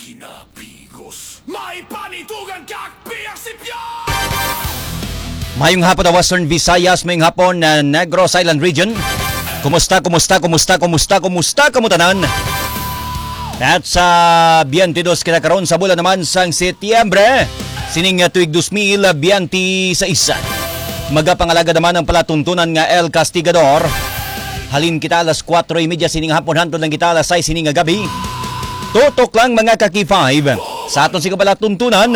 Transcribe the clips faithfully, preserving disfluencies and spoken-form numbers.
Pinapigos. May panitugang kak piyak si Pia! Mayong hapon na Western Visayas, mayong hapon na Negros Island Region. Kumusta, kumusta, kumusta, kumusta, kumusta, kamo tanan? At sa twenty-two kita karon sa bulan naman sang Setyembre, sining, ah, tuig dos mil biyente sais. Magapangalaga naman ang palatuntunan nga El Castigador. Halin kita alas kuwatro y media sining hapon, hantod lang kita alas sais sining nga gabi. Tutok lang, mga ka-K five, sa aton sing palatuntunan.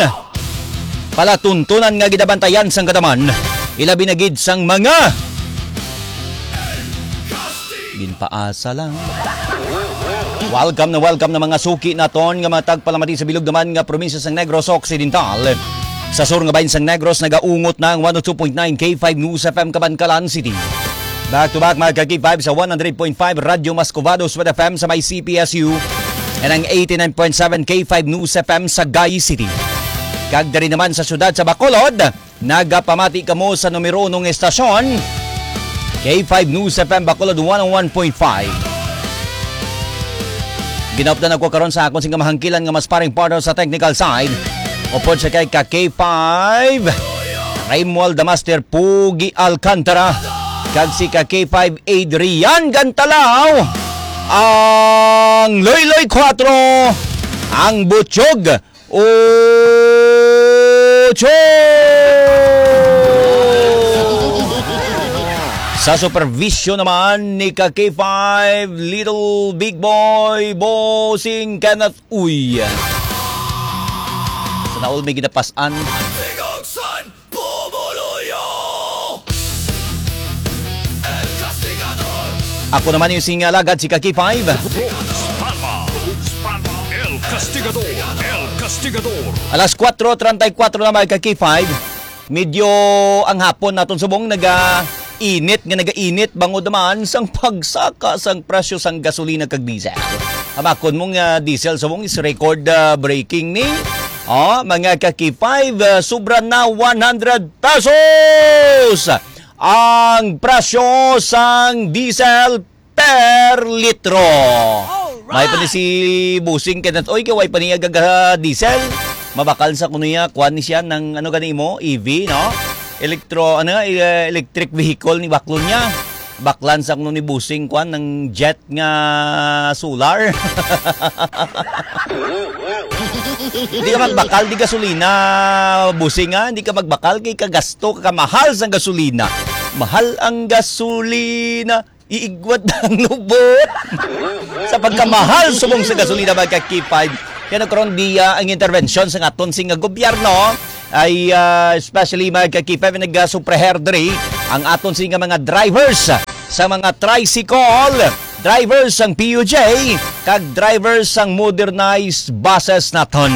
Palatuntunan nga ginabantayan sang kadaman, ilabi na gid sang mga ginpaasa lang. Welcome na welcome na mga suki naton nga mga tagpalamati sa bilog naman nga probinsya sang Negros Occidental. Sa sur nga bahin sang Negros, nagaungot na ang one oh two point nine K five News F M Kabankalan City. Back to back, mga ka-K five, sa one hundred point five Radyo Mascovados with F M sa may C P S U, and ang eighty-nine point seven K five News F M sa Sagay City. Kag diri naman sa siyudad sa Bacolod, nagapamati kamo sa numero unong estasyon, K five News F M Bacolod one oh one point five. Ginaupdan ako karon sa akon sing kamahangkilan nga mas paring partner sa technical side. Upod sa kay ka K five, Raymuald the Master Pugi Alcantara, kag si ka K five Adrian Gantalaw, ang Loyloy Quattro, ang Butchog Ocho. Sa supervisyon naman ni ka K five Little Big Boy, Bossing Kenneth Uy. Sa naol may ginapasan. Ako naman yung sing alagad, si ka K five. Rose Palma, Rose Palma, El Castigador, El Castigador. Alas kuwatro treinta y cuatro na, mga ka K five. Medyo ang hapon naton subong naga-init nga naga-init bangod naman sang pagsaka sang presyo sang gasolina kag diesel. Hamakon mo nga diesel subong is record, ah, breaking ni. Oh, mga ka K five, ah, sobra na one hundred pesos ang presyo sang diesel per litro. Alright! May pa ni si Busing Kenneth, oy, kay way pa niya gaga diesel. Mabakal sa kuno niya, kuan ni siya ng, ano gani mo, E V, no? Elektro, ano, eh, electric vehicle ni baklon niya. Baklan sa kuno ni Busing, kuan, ng jet nga solar. Hindi ka magbakal di gasolina, Busing, ha? Hindi ka magbakal kay kagasto, kamahal sang gasolina. Mahal ang gasolina, iigwat ang lubot. Sa pagkamahal subong sa gasolina, mga ka K five. Kaya nagkaroon di, ah, ang intervensyon sa aton sing gobyerno ay, ah, especially mga ka K five, nagasupreher diri ang aton sing mga drivers sa mga tricycle, drivers sang P U J, kag drivers sang modernized buses naton.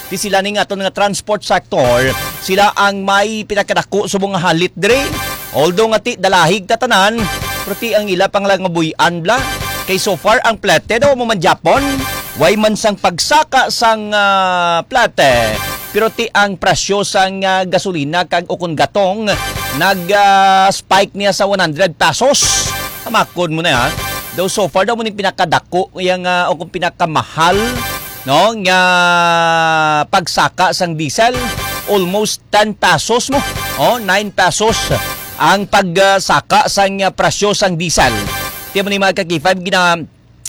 Ti sila ning aton nga transport sector, sila ang may pinakadako subong nga halit diri. Although nga ti dalahig ta tanan, pero ti ang ila pang lang nga buy-an bla. Kay so far ang plete daw mo man Japon, way man sang pagsaka sang, ah, plete. Pero ti ang presyo sang, ah, gasolina kag ukon gatong nag, ah, spike niya sa one hundred pesos. Hamakon mo na, ha? Daw so far daw mo ni pinakadako yang, ah, o kung pinakamahal, no, nga pagsaka sang diesel, almost ten pesos mo. Oh, nine pesos ang pagsaka sang, ah, presyo sang diesel. Ti mo ni mga ka K five gina,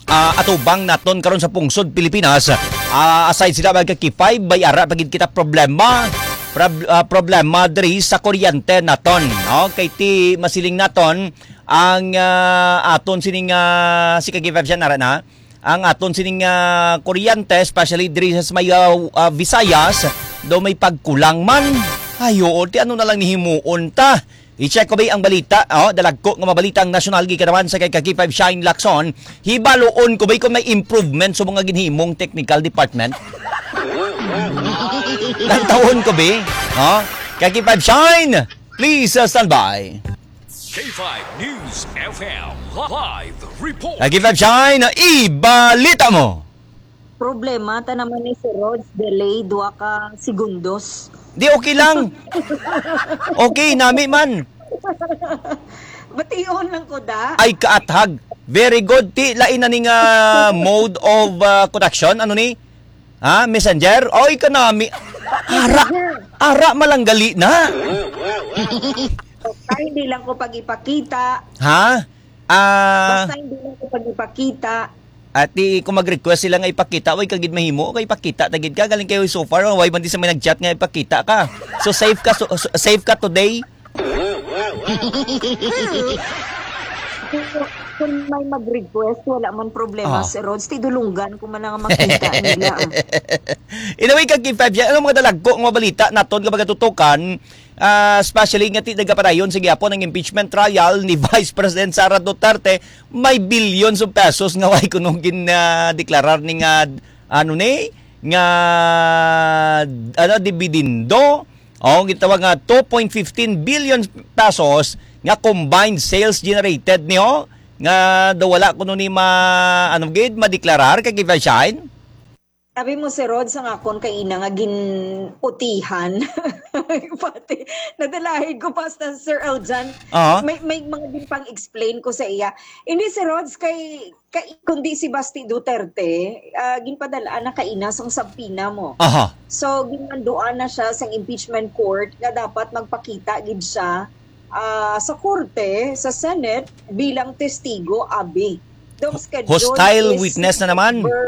ah, atubang naton karon sa pungsod Pilipinas. Ah, aside sila mga ka K five, may ara pa gid kita problema. Prob-, ah, problema diri sa kuryente naton, no? Kay ti masiling naton ang, ah, aton sining, ah, si ka K five siya nara na. Ang aton sining, ah, kuryente, especially diri sa may, ah, ah, Visayas, daw may pagkulang man. Ay, oo, ti ano na lang ni himuon ta? I-check ko ba ang balita? Oh, dalagko nga mabalita ang nasyonal, gikan naman sa kay ka K five Shine Lacson. Hibaluon ko ba kung may improvement sa mga ginhimong technical department? Lantawon ko ba? Oh, kay K five Shine, please, uh, stand by. K five News F M live report. Kay K five Shine, ibalita mo. Problema ta naman ni Sir Rods, delay dua ka segundos. Di, okay lang. Okay, nami man. Bation lang ko da. Ay, kaathag. Very good. Ti, lain na ning, ah, mode of, ah, conduction. Ano ni? Ha? Messenger? Oy, kanami. Ara, ara malanggali na. Basta hindi lang ko pag-ipakita. Ha? Ah, Basta hindi lang ko pag-ipakita. Ati, kung mag-request sila nga ipakita, way kagid mahimo, kay ipakita ta gid ka, galing kayo so far, way man di sa may nag-chat nga ipakita ka. So safe ka, so, so- safe ka today. Kung may mag-request, wala man problema, Ah. Sir Rods. Tidulunggan ko man nga makita nila. Anyway, kag Five Jan, ano mga dalagko nga balita naton nga magatutukan, ah, especially nga ti nagapadayon sa gihapon ang impeachment trial ni Vice President Sara Duterte, may billions of pesos nga way kuno gin, ah, deklarar ni nga, ano ni, nga, ano, dividendo. O, gitawag nga two point fifteen billion pesos nga combined sales generated niyo nga daw wala kuno ni ma-, ano gid, madeklarar kay Kevin Shine? Sabi mo, Sir Rod, sa akon kay ina nga ginputihan. Pati, nadalahid ko pa sa Sir Eljan. Aha. May, may mga din pang explain ko sa iya. Hindi, Sir Rods, kay, kay, kundi si Basti Duterte, ah, ginpadala na kaina sang subpoena mo. Aha. So, ginmanduan na siya sang impeachment court nga dapat magpakita gid siya, ah, sa korte, sa Senate, bilang testigo, abi. Daw schedule Hostile is witness na naman. September,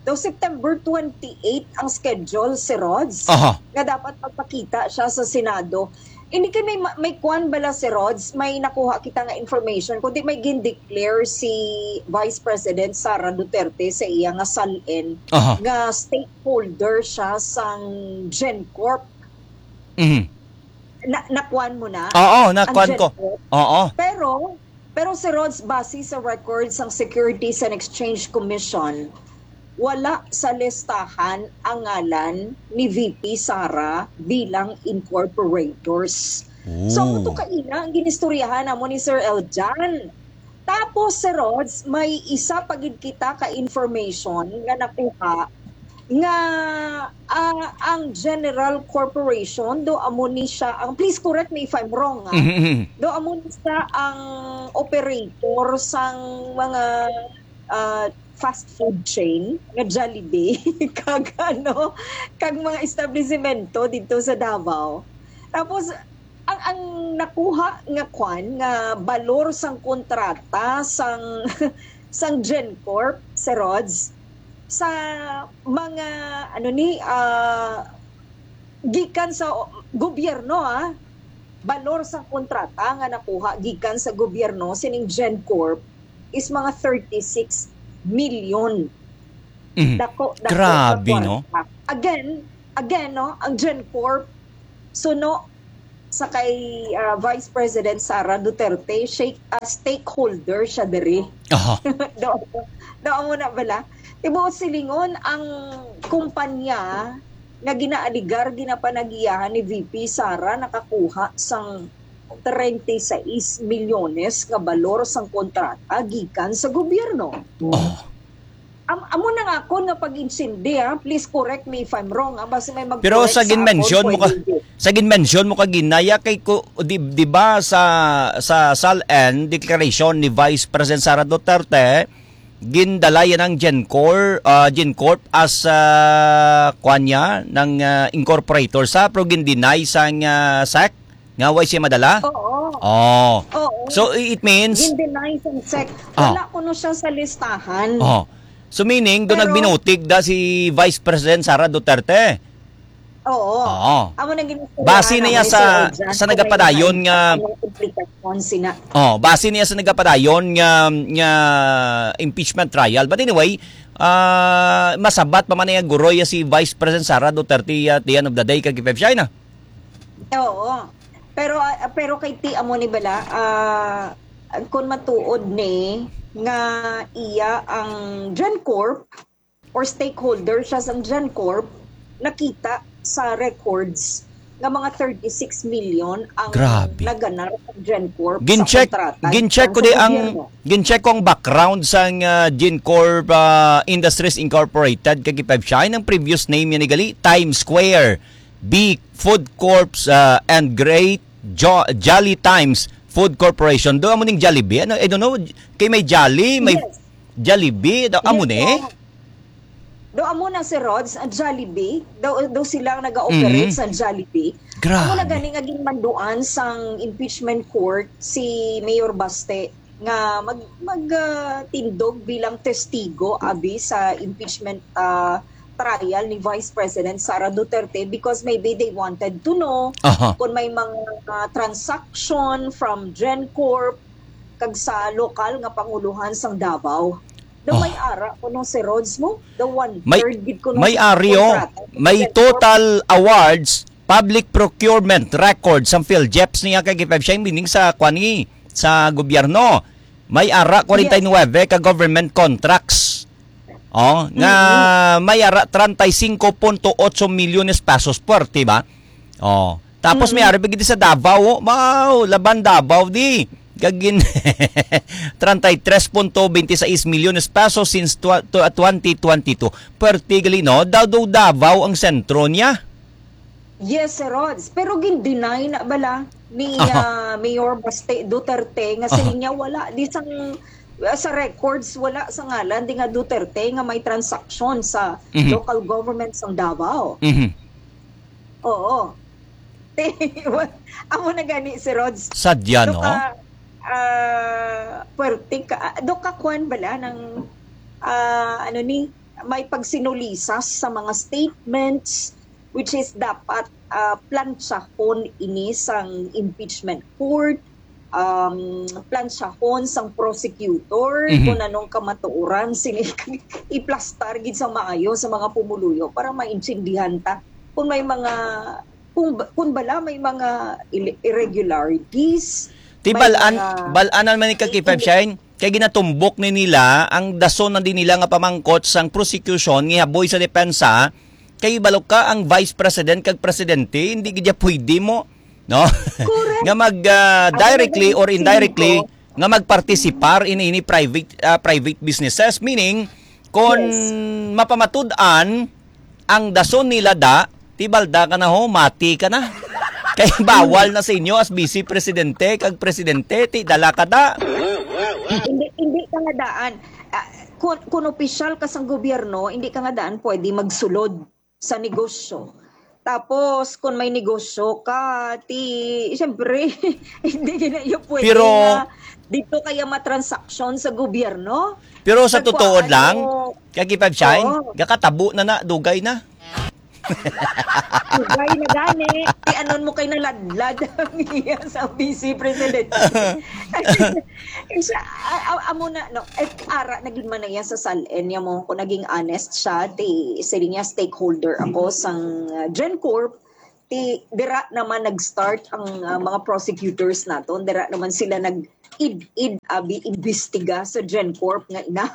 daw September twenty-eight ang schedule, si Rods, Aha. nga dapat magpakita siya sa Senado. Hindi kay may, may kwan bala, si Rods, may nakuha kita nga information, kundi may gindeclare si Vice President Sara Duterte sa iya nga SALN Aha. nga stakeholder siya sang GenCorp. Mhm. Na, nakuan mo na? Oo, Ang nakuan ko. GenCorp? Oo. Pero, pero, si Rods, base sa record sang Securities and Exchange Commission, wala sa listahan ang ngalan ni V P Sara bilang incorporators. So, amo to Oh. kaina ang ginistoryahan namo ni Sir Eljan. Tapos, Sir Rods, may isa pa gid kita ka information nga nakuha nga, ah, ang General Corporation, do amo ni siya ang, please correct me if I'm wrong, ah. Mhm, mhm. Do amo ni siya ang operator sang mga, ah, fast food chain nga Jollibee kag ano, kag mga establisemento didto sa Davao. Tapos, ang, ang nakuha nga kwan, nga balor sang kontrata sang, sang GenCorp, Sir Rods, sa mga, ano ni, ah, gikan sa o-, gobyerno, ah, balor sang kontrata nga nakuha gikan sa gobyerno sining GenCorp is mga thirty-six million. Mhm. Dako, dako Grabe, nga no? kwarta. Again, again, no, ang GenCorp, suno sa kay, ah, Vice President Sara Duterte, shake, ah, stakeholder siya diri. Aha. Do, do mo na bala? Tibuot silingon, ang kumpanya nga ginaaligar, ginapanagiyahan ni V P Sara, nakakuha sang treinta y seis milyones nga balor sang kontrata gikan sa gobyerno. Oh. Am-, amo na nga akon nga pag-insindi, ha. Please correct me if I'm wrong, ha. Basta may mag-correct sa akon, pwede. Pero sa ginmention mo ka, sa ginmention mo ka ginaya kay ko, di, di ba sa, sa SALN declaration ni Vice President Sara Duterte, gindala yan ang Gencor, ah, Gencorp as, ah, kwan niya, ng, ah, incorporator sa, pero gindeny sang, ah, SEC nga way siya madala? Oo. Oh. Oo. So, i-, it means Gindeny sang SEC. Oh. Wala kuno siya sa listahan. Oh. So, meaning, doon Pero nagbinutig da si Vice President Sara Duterte. Oo. Oo. Amo nang ginistoryahan Base na niya naman ni sa, Sir Eljan sa kung may nagapadayon mga nga ano, implikasyon sina. Oh, base niya sa nagapadayon nga, nga impeachment trial. But anyway, ah, masabat pa man niya guroy si Vice President Sara Duterte at the end of the day, kag Feb Shina. Oo. Pero, ah, pero kay ti amo ni bala, ah, kung matuod ni nga iya ang GenCorp or stakeholder siya sa GenCorp, nakita sa records nga mga thirty-six million ang Grabe. naganar sa GenCorp sa Gin-check, kontrata gin-check sa ko di ang, gobyerno. Gin-check ko ang background sa, ah, GenCorp, ah, Industries Incorporated, kag Feb Shine, ang previous name niya ni gali, Times Square, B Food Corps, ah, and Great Jo-, Jolly Times Food Corporation. Do amo ning Jollibee. Ano, I don't know, kay may Jolly, may Yes. Jollibee, do amo Yes, ni? po. Do amo na si Rods, ang Jollibee, daw, daw sila ang nag-ooperate Mm. sa Jollibee. Amo na Grabe. gani nga ginmanduan sang impeachment court si Mayor Baste nga mag mag ah, tindog bilang testigo abi sa impeachment ah, trial ni Vice President Sara Duterte because maybe they wanted to know Aha. kung may mga ah, transaction from GenCorp kag sa lokal nga panguluhan sang Davao. Daw may Oh. ara kuno si Rods mo? Daw May one-third gid kuno may sa aryo, kontrata. may Sa total awards, public procurement records sang PhilGeps niya kay K five siya, meaning sa kwani sa gobyerno. May ara Yes. kwarenta y nuebe ka government contracts. Oh, nga Mm-hmm. may ara treinta y cinco punto ocho milyones pesos, puwerte ba? Oh, tapos may Mm-hmm. ari pa gid sa Davao, oh. Wow, laban Davao di. Kagin treinta y tres punto veintiséis milyones pesos since twa- tw- twenty twenty-two. Puwerte gali, no? Daw daw Davao ang sentro niya. Yes, Sir Rods. Pero gin-deny na bala ni Aha. ah, Mayor Baste Duterte nga Aha. siling niya wala di sang ah, sa records wala sa ngalan di nga Duterte nga may transaksyon sa Mhm. local government sang Davao. Mhm. Oo. Amo na gani si Rods. Sadya, no? Doka, ah, puwerte ka, ah, doka kuan bala ng ah, ano ni, may pagsinulisas sa mga statements which is dapat ah, plantsahon ini sang impeachment court, um, plansyahon sang prosecutor Mhm. kung anong kamatuoran sini iplastar gid sa maayo sa mga pumuluyo para maintindihan ta kung may mga kung, kung bala may mga ille- irregularities, Ti may bal-an, mga bal-anan man ni ka K five Shine, kay ginatumbok ni nila ang dason na din nila nga pamangkot sang prosecution nga haboy sa depensa, kay balo ka ang vice president kag presidente, hindi gid pwede mo, no? Correct. nga mag ah, Ako na directly or indirectly nga magpartisipar ini ini private ah, private businesses, meaning kon Yes. mapamatud-an ang dason nila da, ti balda ka na ho, mati ka na. Kay bawal na sa inyo as vice presidente kag presidente, ti dala ka da. Hindi, hindi ka nga daan. Ah, kung, kung opisyal ka sa gobyerno, hindi ka nga daan pwede magsulod sa negosyo. Tapos, kung may negosyo ka, ti, siyempre, hindi ka na yung pwede Pero, nga dito kaya matransaksyon sa gobyerno. Pero sa Nagkuhaan totoo lang, mo, kay Kipag Shine, oo. gakatabo na na, dugay na. Dugay na gani. Ti anon mo kay naladlad ang iya sa vice president. Siya, a- a- amo na, no, eh, ara na gid man na iya sa sal-en niya mo, kung naging honest siya, ti, sila niya stakeholder ako sang uh, GenCorp, ti, dira naman nag-start ang uh, mga prosecutors naton, dira naman sila nag id-id abi imbestiga sa GenCorp nga ina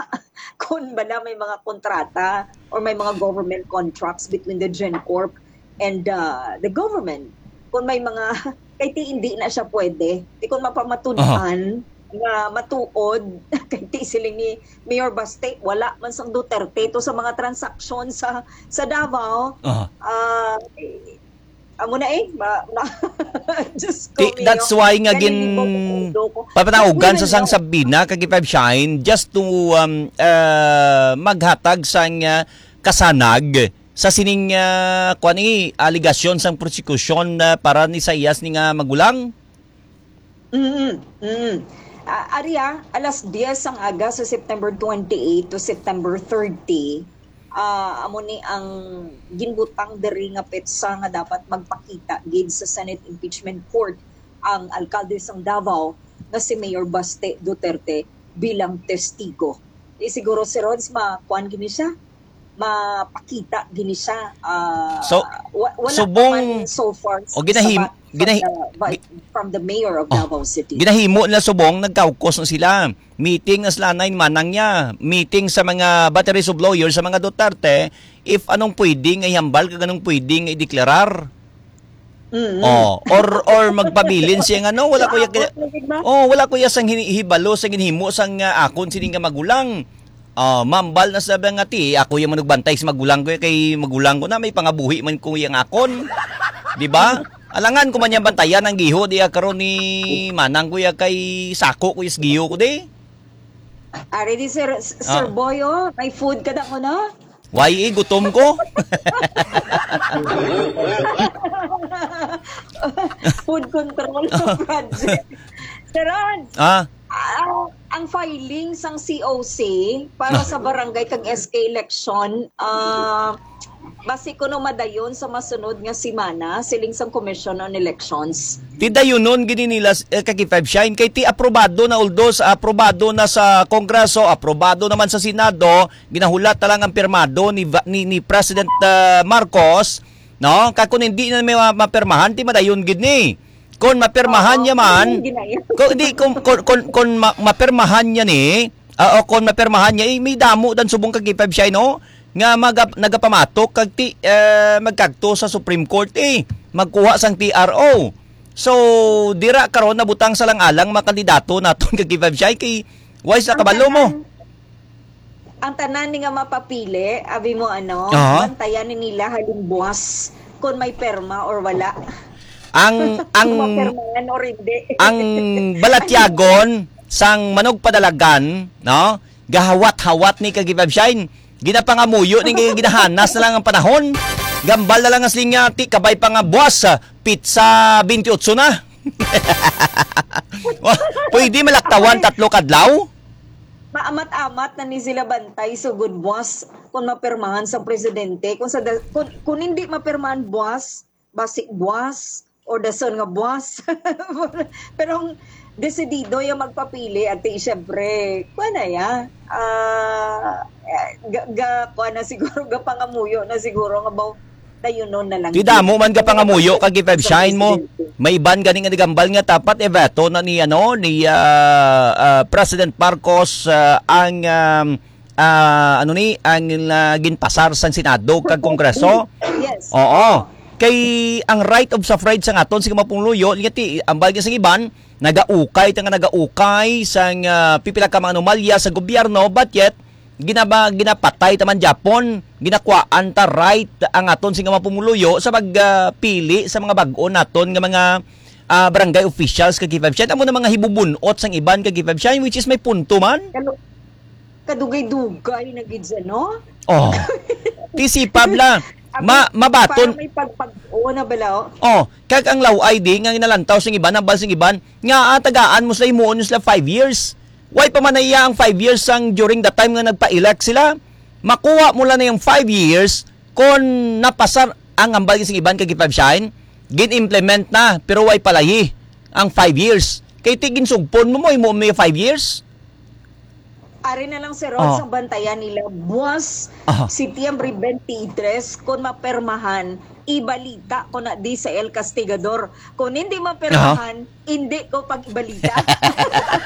kung bala may mga kontrata or may mga government contracts between the GenCorp and uh, the government, kung may mga kay ti hindi na siya pwede, ti kung mapamatud-an nga matuod kay ti siling ni Mayor Baste, wala man sang Duterte to sa mga transaksyon sa sa Davao. Aha. Ah, eh, amo na eh, ma, ma, Diyos ko Ti- mio. that's why nga Ganun gin yung mga mundo ko. papanaugan sa Ganun sang lang. Sabina kag Five Shine just to um, uh, maghatag sang uh, kasanag sa sining uh, kuan ni aligasyon sang prosekusyon uh, para ni sa iyas ni nga magulang. Mm, mm. Ah, ari, ah, alas diyes sang aga sa September twenty-eight to September thirty, ah, amo ni ang ginbutang diri nga petsa nga dapat magpakita gid sa Senate Impeachment Court ang alkalde sang Davao nga si Mayor Baste Duterte bilang testigo. Di siguro si Rods makuan gini siya, mapakita gini siya. Ah, So, wa- wala subong- pa man so far o ginahim- sa ba- from ginahi- the, vi- gi- from the mayor of Oh, Davao City. ginahimo nila subong, nagkaukos na sila. Meeting na sila na manang niya. Meeting sa mga batteries of lawyers sa mga Duterte if anong pwede nga ihambal kag anong pwede nga ideklarar. Mm. Oh, or or magpabilin siya nga no, wala ko ya Maabot na gid ba? Oh, wala ko ya sang hini- hibalo sa ginhimo sang uh, akon sini nga magulang. Ah, mambal na sa nga ti, ako yung manugbantay sa magulang ko, kay magulang ko na, may pangabuhi man ko yung akon. Di ba? Alangan ko man yung bantayan ang giho, di ya karon ni manang ko ya kay sako ko is giho ko di. Ari di, Sir, Sir Ah. Boy, oh, may food ka na ko, no? Why, eh, gutom ko? Food control project. Sir Ron, ah, ah, ang filing sang C O C para sa barangay kag S K election, ah, basi kuno madayon sa masunod nga semana, siling sang Commission on Elections. Ti dayunon gid ni nila, eh, kag five shine kay ti aprobado na, although sa aprobado na sa Kongreso, aprobado naman sa Senado, ginahulat na lang ang pirmado ni Va-, ni, ni President, ah, Marcos, no? Kag kung hindi na may ma-, mapirmahan, ti madayon gid ni. Kung mapirmahan Oo, niya man, yun, ginaya. Kung hindi, kung, kung, kung, kung ma-, mapirmahan niya ni, ah, o kung mapirmahan niya, eh, may damo dan subong kag five shine, no? Nga maga-, nagapamatok kag ti, eh, magkagto sa Supreme Court, eh, magkuha sang T R O. So, dira karon nabutang sa lang-alang mga kandidato naton kag five shine kay why sa Ang kabalo mo? tanan, ang tanan ni nga mapapili, abi mo ano, Aha. bantayan ni nila halimbuwas kung may perma or wala. Ang, ang, Kung mapirmahan or hindi. ang balatyagon sang manugpadalagan, no? Gahawat-hawat ni kag five shine. Ginapangamuyo ni kay ginahanas na lang ang panahon. Gambal na lang ang siling nga ti kabay pa nga buwas, ah, pizza twenty-eight na. Wa-, pwede malaktawan tatlo kadlaw? Maamat-amat na ni sila bantay, sugod buwas, kung mapirmahan sa presidente. Kung sa da-, kung, kung hindi mapirmahan buwas, basi buwas, or dason nga buwas. Pero ang desidido yung magpapili, ati, syempre, kuha na ya. Ah, eh, ga, ga, kuha na siguro, gapangamuyo na siguro nga baw, dayunon na lang. Ti damo man gapangamuyo kag five shine mo. May iban gani nga nagambal nga dapat i-veto na ni, ano, ni, ah, ah, President Marcos, ah, ang, um, ah, ano ni, ang, ah, ginpasar sang Senado kag Kongreso. Yes. Oo. Kay ang right of suffrage sa aton, sige, mga pumuluyo, nga ti, ambal nga sang iban, nagaukay, ta nga nagaukay sang, ah, pipila ka mga anomalya sa gobyerno, but yet, ginaba-, ginapatay ta man gyapon, ginakwaan ta right ang aton sing mga pumuluyo sa pag, ah, pili sa mga bag-o naton nga mga, ah, barangay officials kag five shine. Amo na mga hibubun-ot sang iban kag five shine, which is may punto man. Kalo-, kadugay-dugay na gid siya, no? Oh. Ti si Pabla, Abi, ma-, mabaton. Parang may pagpag-, oo na bala, oh. Oh, kag ang law I D nga ginalantaw sing iban, ang bal sing iban, nga, ah, tagaan mo sila, himuon mo sila five years. Why pa man na iya ang five years sang during the time nga nagpa-elect sila? Makuha mo lang na yung five years kung napasar ang ambal sing iban kag five shine, gin-implement na, pero why palayi ang five years? Kay ti ginsugpon mo mo, imo may five years? Ari na lang, Sir Rod, Oh. sang bantayan nila. Buwas, Aha. Setyembre twenty-three, kung mapermahan, ibalita ko na di sa El Castigador. Kung hindi mapermahan, hindi ko pag-ibalita.